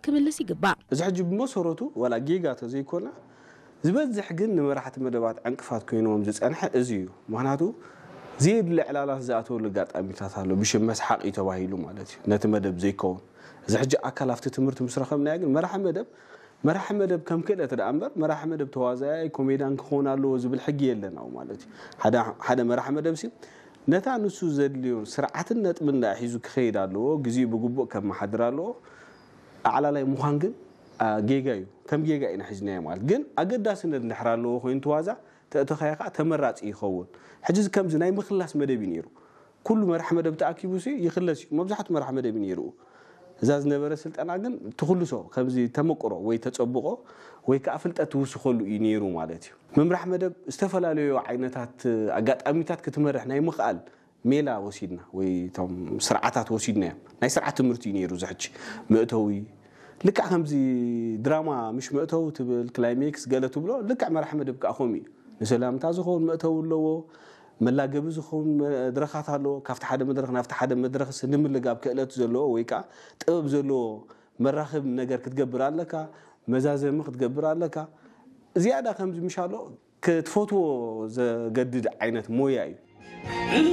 ክምልስ ይግባእ። እዚ ሕጂ ብመሰረቱ ዋላ ጌጋ ተዘይኮነ ዝበዝሕ ግን ንመራሕቲ መደባት ዕንቅፋት ኮይንዎም ዝፀንሐ እዚ እዩ። ምክንያቱ ዘየድሊ ዕላላት ዝኣተወሉ ኣጋጣሚታት ኣሎ። ብሽም መስሓቂ ተባሂሉ ማለት እዩ፣ ነቲ መደብ ዘይከውን። እዚ ሕጂ ኣካል ኣብቲ ትምህርቲ ምስ ረኸብናዮ ግን መራሒ መደብ መራሒ መደብ ከም ክእለት ደኣ እምበር መራሒ መደብ ተዋዛያይ ኮሜዳን ክኸውን ኣለዎ ዝብል ሕጊ የለን ኣብኡ ማለት እዩ። ሓደ መራሒ መደብ ሲ ነታ ንሱ ዘድልዮ ስርዓትን ነጥብን ደኣ ሒዙ ክኸይድ ኣለዎ። ግዜኡ ብግቡእ ከመሓድር ኣለዎ። ኣዕላላይ ምዃን ግን ጌጋ እዩ። ከም ጌጋ ኢና ሒዝናዮ ማለት ግን ኣገዳስነት እንድሕር ኣለዎ ኮይኑ ትዋዛ ተእተኻዮ ከዓ ተመራፂ ይኸውን። ሕጂ ከምዚ ናይ ምኽላስ መደብ እዩ ነይሩ። ኩሉ መራሕ መደብ ተኣኪቡ ሲ ይኽለስ እዩ። መብዛሕቱ መራሕ መደብ እዩ ነይሩ። እዛ ዝነበረ ስልጠና ግን ትኽልሶ ከምዚ ተመቅሮ ወይ ተፀብቆ ወይ ከዓ ፍልጠት ትውስኸሉ እዩ ነይሩ ማለት እዩ። ምምራሕ መደብ ዝተፈላለዩ ዓይነታት ኣጋጣሚታት ክትመርሕ ናይ ምኽኣል ሜላ ወሲድና ወይ እቶም ስርዓታት ወሲድና እዮም። ናይ ስርዓት ትምህርቲ እዩ ነይሩ። ዝሕጂ መእተዊ ልክዕ ከምዚ ድራማ ምሽ መእተዊ ትብል ክላይሜክስ ገለ ትብሎ ልክዕ መራሕ መደብ ከዓ ከምኡ እዩ። ንሰላምታ ዝኸውን መእተዊ ኣለዎ። መላገቢ ዝኸውን መድረኻት ኣለዎ። ካብቲ ሓደ መድረኽ ናብቲ ሓደ መድረኽ ንምልጋብ ክእለት ዘለዎ ወይ ከዓ ጥበብ ዘለዎ መራኽብ ነገር ክትገብር ኣለካ። መዛዘሚ ክትገብር ኣለካ። ዝያዳ ከምዚ ምሻሎ ክትፈትዎ ዘገድድ ዓይነት ሞያ እዩ።